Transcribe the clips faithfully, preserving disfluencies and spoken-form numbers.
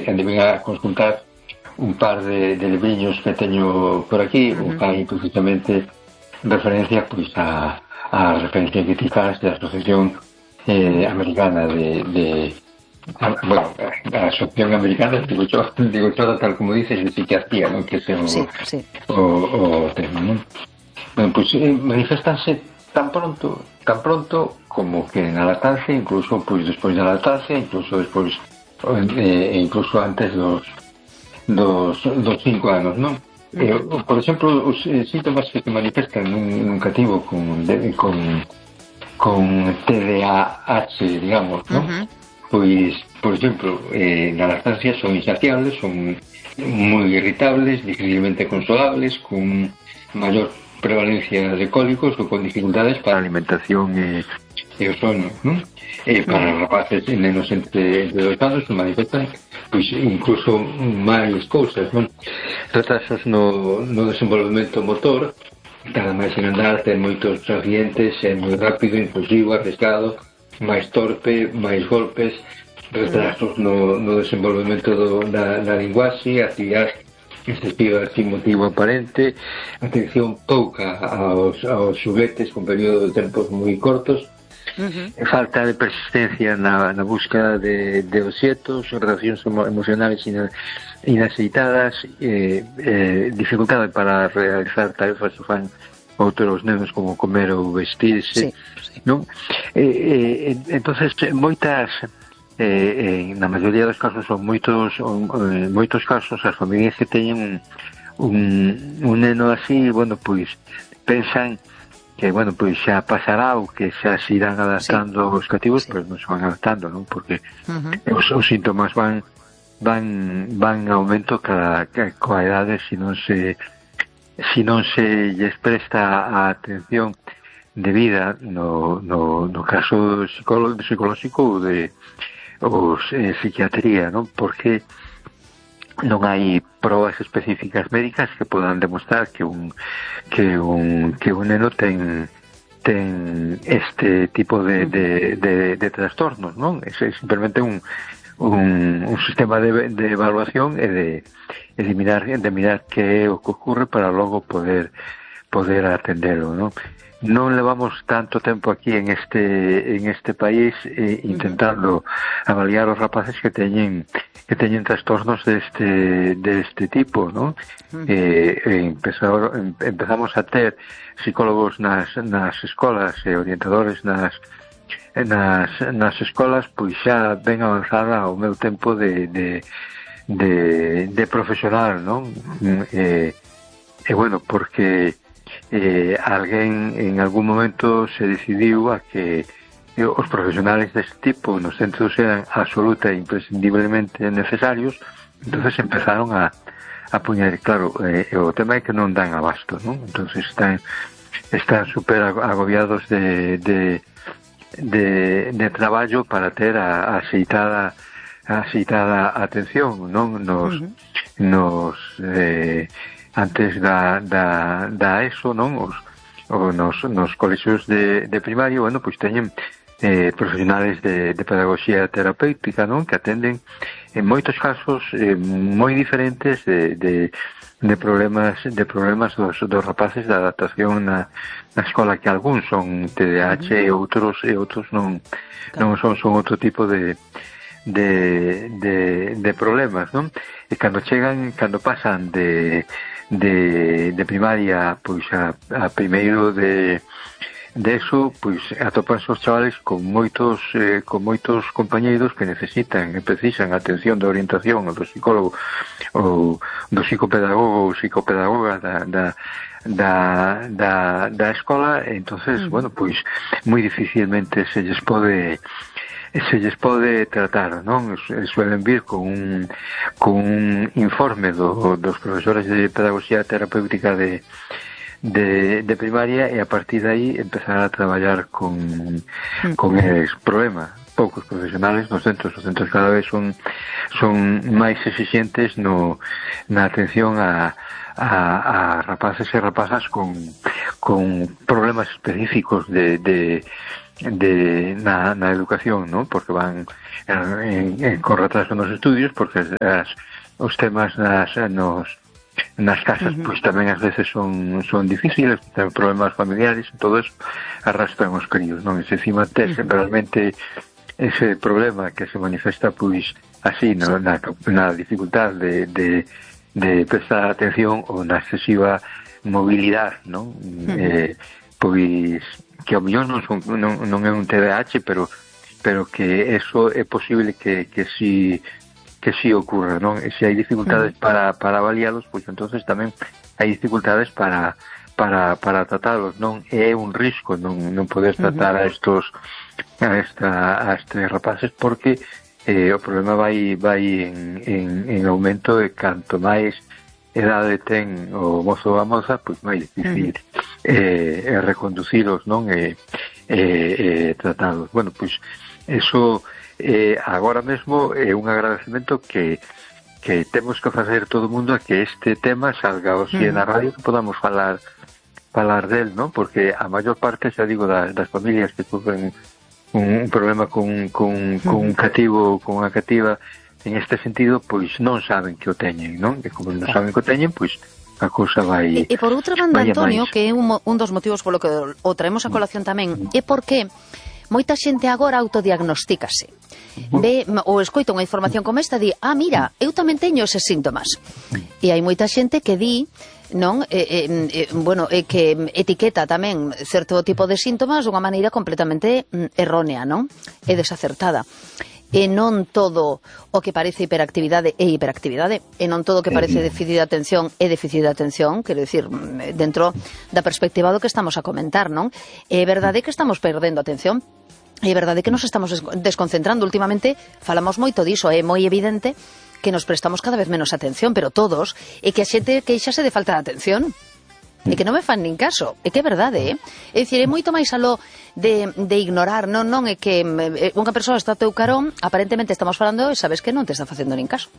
andei a consultar un par de, de libriños que teño por aquí, uh-huh. o fai precisamente referencia pois a, a referencia que ti faz da Asociación eh, Americana de, de a, bueno, a Asociación Americana, digo yo, digo yo tal como dices, de psiquiatría, ¿no? Que é o, sí, sí. o, o tema, ¿no? Bueno, pois pues, eh, manifestanse tan pronto, tan pronto como que na lactancia, incluso pois despois da lactancia, incluso despois eh, incluso antes dos dos, dos cinco anos, non? Uh-huh. Eh, por exemplo, os eh, síntomas que se manifestan nun, nun cativo con, de, con con T D A H, digamos, non? Uh-huh. Pois, por exemplo, eh, na lactancia son insaciables, son moi irritables, difícilmente consolables, con maior prevalencia de cólicos ou con dificultades para a alimentación e, e o sono, non? E para os rapaces e nenos entre, entre dos anos se manifestan pois incluso máis cousas, non? Retrasos no, no desenvolvemento motor, cada máis en andar, ten moitos accidentes, é moi rápido, impulsivo, arriscado, máis torpe, máis golpes, retrasos no, no desenvolvemento do, da, da linguaxe, actividade excesiva sin motivo aparente, atención pouca aos, aos xuguetes con período de tempos moi cortos, uh-huh. falta de persistencia na, na búsqueda de, de obxetos, relacións emocionales ina, inaceitadas, eh, eh, dificultade para realizar tarefas que fan outros nenos como comer ou vestirse, sí, sí. Non? Eh, eh, entonces moitas Eh, eh, na maioría dos casos son moitos on, eh, moitos casos as familias que teñen un, un neno así, bueno, pois pensan que, bueno, pois xa pasará ou que xa se irán adaptando sí. os cativos, sí. pero non se van adaptando, non? Porque uh-huh. os, os síntomas van van van en aumento cada, cada coa idade se non se se non se lles presta a atención debida no, no, no caso psicolóxico ou de os eh, psiquiatría, non? Porque non hai probas específicas médicas que podan demostrar que un que un que un neno ten ten este tipo de de de, de trastornos, non? É simplemente un un un sistema de de evaluación e de e de mirar de mirar que é o que ocurre para logo poder poder atendelo, non? Non levamos tanto tempo aquí en este en este país eh, intentando avaliar os rapaces que teñen que teñen trastornos deste deste tipo, ¿no? Uh-huh. Eh, empezar, empezamos a ter psicólogos nas nas escolas e orientadores nas nas nas escolas, pois xa ben avanzada o meu tempo de de de, de profesional, non? Eh, e bueno, porque Eh, alguén en algún momento se decidiu a que eh, os profesionales deste tipo nos centros eran absoluta e imprescindiblemente necesarios, entonces empezaron a, a puñar, claro, eh, o tema é que non dan abasto, non? Entonces están están super agobiados de de, de, de traballo para ter a, a aceitada a aceitada atención, non? Nos, uh-huh. nos eh, antes da, da, da ESO, non? Os, o nos, nos colexios de, de primario, bueno, pois teñen eh, profesionales de, de pedagogía terapéutica, non? Que atenden en moitos casos eh, moi diferentes de, de, de problemas de problemas dos, dos rapaces da adaptación na, na escola, que algúns son T D A H e outros e outros non non son son outro tipo de de, de, de problemas, non? E cando chegan, cando pasan de de, de primaria pois a, a primeiro de de eso, pois atopanse os chavales con moitos eh, con moitos compañeiros que necesitan e precisan atención de orientación do psicólogo ou do psicopedagogo ou psicopedagoga da, da da, da, da escola. Entonces, mm. bueno, pois moi dificilmente se lles pode se lles pode tratar, non? Suelen vir con un con un informe do, dos profesores de pedagogía terapéutica de de, de primaria, e a partir de aí empezar a traballar con con eles. Problema poucos profesionales nos centros. Os centros cada vez son son máis exigentes no na atención a a, a rapaces e rapazas con con problemas específicos de de de na, na educación, ¿no? Porque van en, en, con retraso nos estudios, porque as, os temas nas nos nas casas, uh-huh. pois tamén ás veces son son difíciles, ten problemas familiares, todo eso arrastran os críos, non? E se encima tes uh-huh. realmente ese problema que se manifesta pois así, no? na, na dificultad de, de, de prestar atención ou na excesiva movilidade, non? Uh-huh. Eh, pois que ao mellor non, son, non, non é un T D A H, pero pero que eso é posible que, que si que si ocurra, non? E se hai dificultades uh-huh. para, para avalialos, pois entonces tamén hai dificultades para para para tratalos, non? É un risco non non poder tratar uh-huh. a estos a esta a estes rapaces, porque eh, o problema vai vai en, en, en aumento, e canto máis edade ten o mozo ou a moza, pois máis difícil uh-huh. eh, reconducilos, non? E eh, eh, tratados. Bueno, pois eso eh, agora mesmo é un agradecemento que que temos que facer todo o mundo a que este tema salga hoxe uh-huh. na radio, que podamos falar falar del, ¿no? Porque a maior parte, xa digo, das, das familias que sufren un, un problema con, con, uh-huh. con un cativo, con unha cativa, en este sentido, pois non saben que o teñen, non? E como non saben que o teñen, pois a cousa vai... E, e por outra banda, Antonio, máis. Que é un, un dos motivos polo que o traemos a colación tamén, é porque moita xente agora autodiagnostícase. Ve, ou escoita unha información como esta, di, ah, mira, eu tamén teño eses síntomas. E hai moita xente que di, non, eh, eh, bueno, eh, que etiqueta tamén certo tipo de síntomas dunha maneira completamente errónea, non? E desacertada. E non todo o que parece hiperactividade é hiperactividade, e non todo o que parece déficit de atención é déficit de atención, quero dicir, dentro da perspectiva do que estamos a comentar, non? É verdade que estamos perdendo atención, é verdade que nos estamos desconcentrando. Últimamente falamos moito diso, é moi evidente que nos prestamos cada vez menos atención, pero todos, e que a xente queixase de falta de atención. E que non me fan nin caso, é que é verdade, eh? É dicir, é moito máis aló de, de ignorar, non, non, é que eh, unha persoa está a teu carón, aparentemente estamos falando e sabes que non te está facendo nin caso.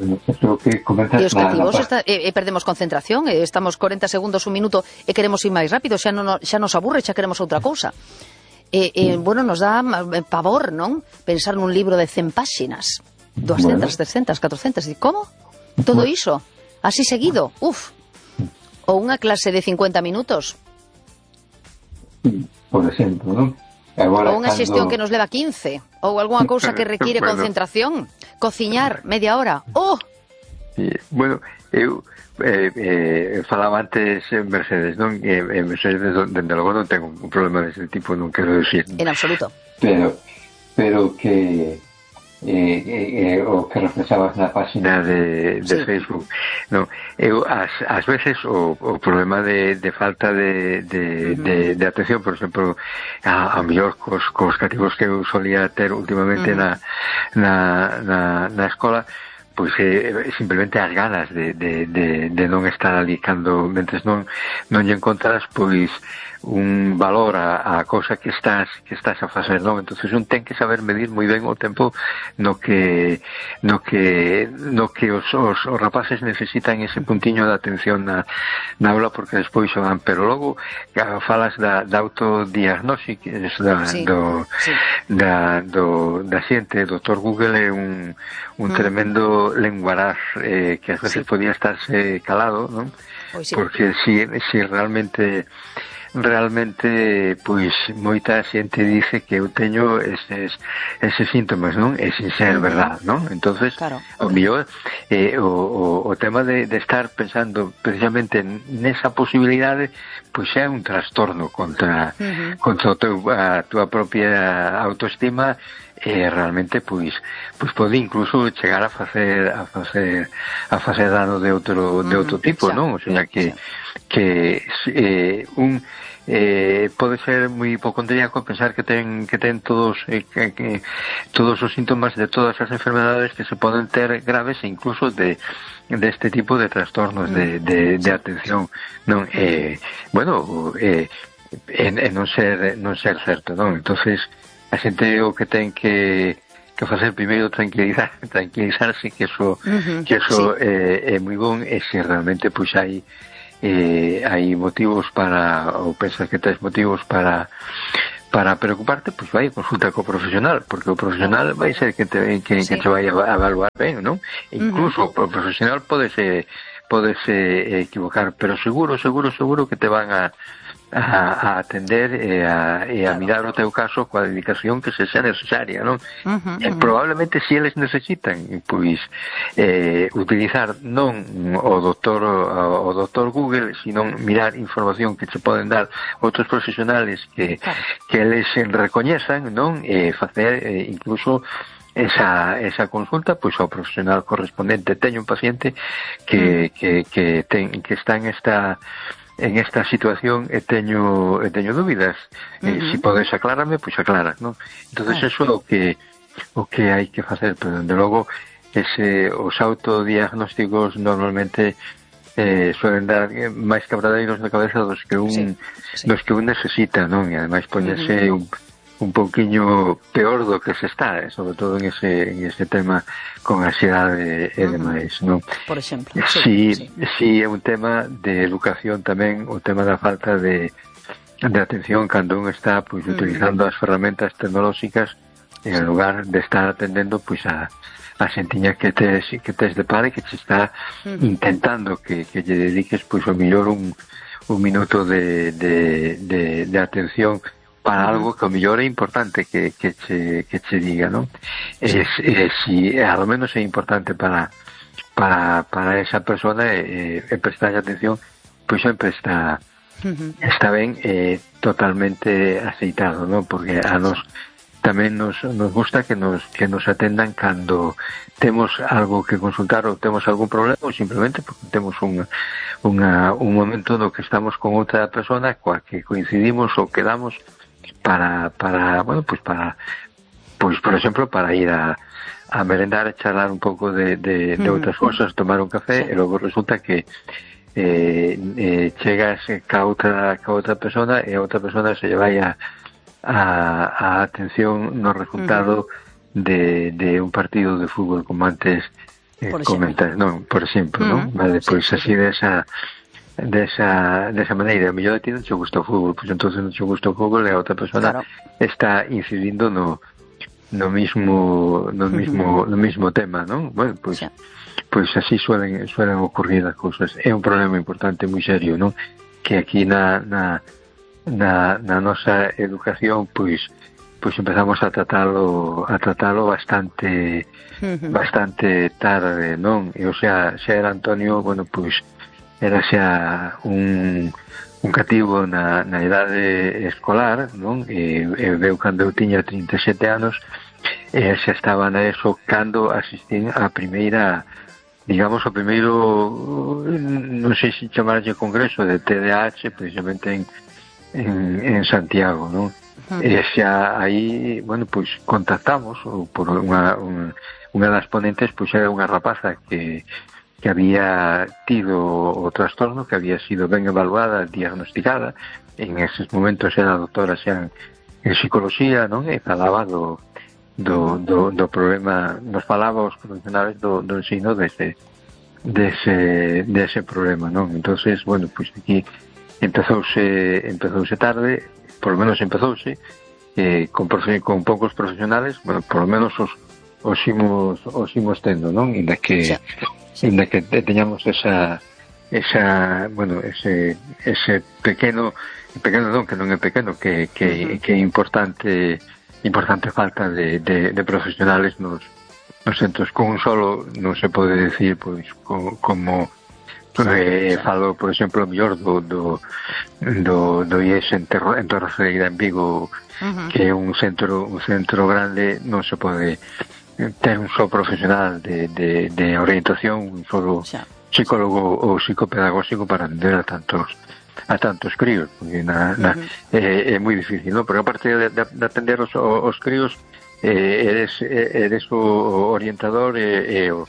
Que e os cativos está, e, e perdemos concentración, e estamos corenta segundos, un minuto, e queremos ir máis rápido, xa, non, xa nos aburre, xa queremos outra cousa. E, e, bueno, nos dá pavor, non? Pensar nun libro de cen páxinas, doscientas, trescientas, catrocentas, e como? Todo iso, así seguido, uf. Ou unha clase de cincuenta minutos. Por exemplo, non? Agora, ou unha cando... xestión que nos leva quince. Ou algunha cousa que require bueno. concentración. Cociñar media hora. Oh! Sí, bueno, eu eh, eh, falaba antes en Mercedes, non? E en Mercedes, dende logo, non tengo un problema dese tipo, non quero decir. En absoluto. Pero, pero que... Eh, eh, o que reflexabas na página de, de sí. Facebook, no, eu as, as veces o, o problema de, de falta de, de, uh-huh. de, de atención, por exemplo, a, a mellor cos, cos cativos que eu solía ter últimamente uh-huh. na, na, na, na escola, pois eh, simplemente as ganas de, de, de, de non estar ali cando, mentres non, non lle encontras, pois un valor a, a cousa que estás que estás a facer, non? Entonces un ten que saber medir moi ben o tempo no que no que no que os, os, os rapaces necesitan ese puntiño de atención na, na aula, porque despois xogan, pero logo falas da, da autodiagnóstico da, sí, do, sí. da, do, da xente. O doutor Google é un, un mm. tremendo lenguaraz eh, que ás veces sí. podía estarse calado, non? Sí. Porque si, si realmente realmente, pois, moita xente dice que eu teño eses, eses síntomas, non? E sin ser uh-huh. verdad, non? Entonces, claro. o mellor, eh, o, o, o tema de, de estar pensando precisamente nesa posibilidade, pois é un trastorno contra, uh-huh. contra o teu, a túa propia autoestima, e realmente pois pois pode incluso chegar a facer a facer a facer dano de outro de outro tipo, non? O sea que que eh, un eh, pode ser moi hipocondríaco pensar que ten que ten todos eh, que, que todos os síntomas de todas as enfermedades que se poden ter graves, e incluso de de este tipo de trastornos de de, de atención, non? Eh, bueno, eh en, en non ser non ser certo, non? Entonces a xente o que ten que que facer primeiro tranquilizar, tranquilizarse que eso uh-huh, que eso sí. é, é moi bon, e se realmente pois hai eh, hai motivos para, ou pensas que tens motivos para para preocuparte, pois vai a consulta co profesional, porque o profesional vai ser que te, que, sí. que te vai a evaluar ben, non? Incluso uh-huh. o profesional podese podese equivocar, pero seguro, seguro, seguro que te van a a, a atender e a, e a mirar o teu caso coa dedicación que se xa necesaria, non? Uh-huh, e uh-huh. probablemente se eles necesitan pois eh, utilizar non o doctor o, o doctor Google, sino mirar información que se poden dar outros profesionales que, claro. que eles recoñezan, non? E facer eh, incluso esa, esa consulta pois ao profesional correspondente. Teño un paciente que, uh-huh. que, que, ten, que está en esta en esta situación e teño, e teño dúbidas. Uh-huh. Eh, si podes aclararme, pois aclaras, non? Entonces uh-huh. eso é o que o que hai que facer, pero dende logo ese, os autodiagnósticos normalmente eh, suelen dar máis quebradeiros na cabeza dos que un sí, sí. dos que un necesita, non? E ademais poñerse uh-huh. un un pouquiño peor do que se está, eh, sobre todo en ese, en ese tema con ansiedade e demais, non? Por exemplo. Si, sí, sí. si é un tema de educación tamén, o tema da falta de, de atención cando un está pois uh-huh. utilizando as ferramentas tecnolóxicas en lugar de estar atendendo pois a a xentiña que tes, que tes de par e que te está uh-huh. intentando que, que lle dediques pois o mellor un, un minuto de, de, de, de atención para algo que o mellor é importante que, que, che, que che diga, non? Sí. E, e, si ao menos é importante para para, para esa persona e, e prestar atención, pois sempre está uh-huh. está ben e totalmente aceitado, non? Porque a nos tamén nos, nos gusta que nos que nos atendan cando temos algo que consultar ou temos algún problema ou simplemente porque temos un, unha, un momento no que estamos con outra persona coa que coincidimos ou quedamos para, para bueno, pues para, pues por exemplo, para ir a, a merendar, a charlar un pouco de, de, de outras cosas, tomar un café, sí. E logo resulta que eh, eh, chegas ca outra, ca outra persona e a outra persona se lle vai a, a, a atención no resultado uh-huh. de, de un partido de fútbol, como antes eh, comentas, non? Por exemplo, uh-huh. non? Vale, pois pues así desa desa, desa maneira, a mellor a ti non che gusta o fútbol, pois entonces non che gusta o fútbol e a outra persona claro. Está incidindo no no mismo no mismo no mismo tema, non? Bueno, pois sí. Pois así suelen suelen ocurrir as cousas. É un problema importante moi serio, non? Que aquí na na na, na nosa educación pois pois empezamos a tratalo a tratalo bastante uh-huh. bastante tarde, non? E o sea, xa era Antonio, bueno, pois era xa un, un cativo na, na idade escolar, non? E, e veu cando eu tiña trinta e sete anos e xa estaba na eso cando asistín a primeira, digamos, o primeiro, non sei se chamarlle congreso de T D A H, precisamente en, en, en Santiago, non? Uh-huh. E xa aí, bueno, pois contactamos por unha, unha, unha das ponentes, pois era unha rapaza que que había tido o trastorno, que había sido ben evaluada, diagnosticada, en eses momentos era doctora xa en psicología, non? E falaba do, do, do, do problema, nos falaba os profesionales do, do ensino dese, dese, dese problema, non? Entonces, bueno, pois pues aquí empezouse, empezouse tarde, por lo menos empezouse, eh, con, con poucos profesionales, bueno, por lo menos os, os imos, os imos tendo, non? Inda que... Sí. En la que teñamos esa esa, bueno, ese ese pequeno pequeno non, que non é pequeno, que que que é importante importante falta de de de profesionales nos nos centros. Con un solo non se pode decir, pois, co, como eh, falo, por exemplo, mellor do do do do I E S en Terra, en Torreceira, en Vigo, uh-huh. que é un centro un centro grande, non se pode ter un só profesional de, de, de orientación, un solo xa. Psicólogo ou psicopedagóxico para atender a tantos a tantos críos, porque na, na, uh-huh. é, é moi difícil, ¿no? Porque aparte de, de, de atender os, os críos, eh, eres, eres o orientador e, e, o,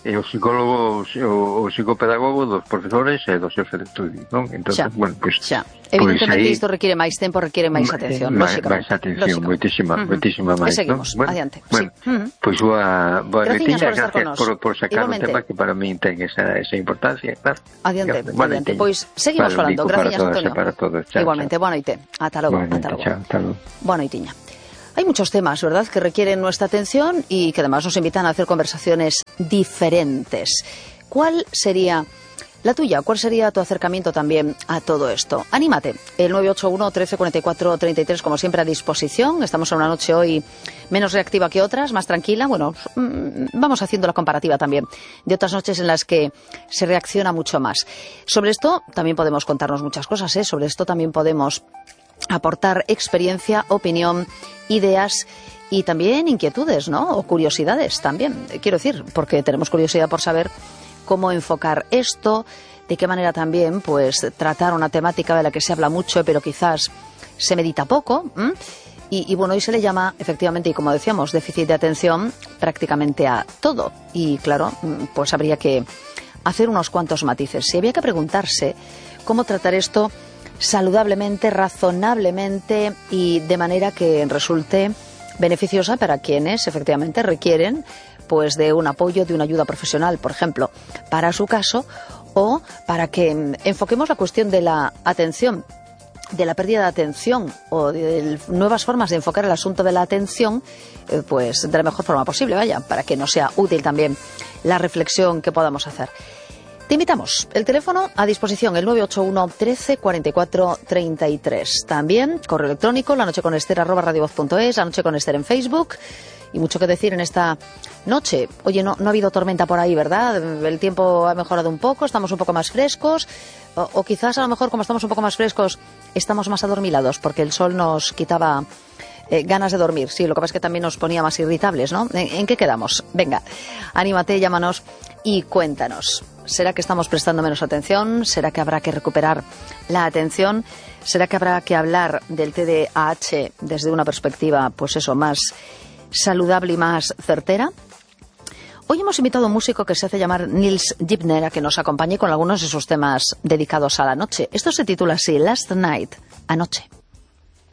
e o psicólogo, o, o psicopedagogo dos profesores e dos xefes de estudio, non? Entón, xa, bueno, pues, xa. Evidentemente pues isto requiere máis tempo, requiere máis atención, máis, lóxicamente. máis atención, moitísima, uh-huh. moitísima máis, e seguimos, ¿no? Bueno, adiante. Bueno, sí. uh-huh. Pois pues, boa, boa Graciñas por estar gracias por, por sacar igualmente. un tema que para mí ten esa, esa importancia, claro. Adiante, Bueno, adiante. Pois pues, seguimos falando. Gracias, Antonio. Para todos. Chao, igualmente, boa noite. Ata logo, bueno, ata logo. Chao, ata logo. Boa noitiña. Hay muchos temas, ¿verdad?, que requieren nuestra atención y que además nos invitan a hacer conversaciones diferentes. ¿Cuál sería la tuya? ¿Cuál sería tu acercamiento también a todo esto? Anímate. El nueve ocho uno, trece, cuarenta y cuatro, treinta y tres, como siempre, a disposición. Estamos en una noche hoy menos reactiva que otras, más tranquila. Bueno, vamos haciendo la comparativa también de otras noches en las que se reacciona mucho más. Sobre esto también podemos contarnos muchas cosas, ¿eh? Sobre esto también podemos aportar experiencia, opinión, ideas y también inquietudes, ¿no? O curiosidades también, quiero decir, porque tenemos curiosidad por saber cómo enfocar esto, de qué manera también, pues, tratar una temática de la que se habla mucho, pero quizás se medita poco. Y, y bueno, hoy se le llama, efectivamente, y como decíamos, déficit de atención prácticamente a todo. Y claro, pues habría que hacer unos cuantos matices. Si había que preguntarse cómo tratar esto saludablemente, razonablemente y de manera que resulte beneficiosa para quienes efectivamente requieren pues de un apoyo, de una ayuda profesional, por ejemplo, para su caso, o para que enfoquemos la cuestión de la atención, de la pérdida de atención o de nuevas formas de enfocar el asunto de la atención, eh, pues de la mejor forma posible, vaya, para que nos sea útil también la reflexión que podamos hacer. Te invitamos, el teléfono a disposición, el nueve ocho uno, trece, cuarenta y cuatro, treinta y tres. También correo electrónico, lanocheconester arroba radiovoz punto es, lanocheconester en Facebook. Y mucho que decir en esta noche. Oye, no, no ha habido tormenta por ahí, ¿verdad? El tiempo ha mejorado un poco, estamos un poco más frescos. O, o quizás a lo mejor, como estamos un poco más frescos, estamos más adormilados, porque el sol nos quitaba eh, ganas de dormir. Sí, lo que pasa es que también nos ponía más irritables, ¿no? ¿En, en qué quedamos? Venga, anímate, llámanos y cuéntanos. ¿Será que estamos prestando menos atención? ¿Será que habrá que recuperar la atención? ¿Será que habrá que hablar del T D A H desde una perspectiva, pues eso, más saludable y más certera? Hoy hemos invitado a un músico que se hace llamar Nils Gibner a que nos acompañe con algunos de sus temas dedicados a la noche. Esto se titula así, Last Night, anoche.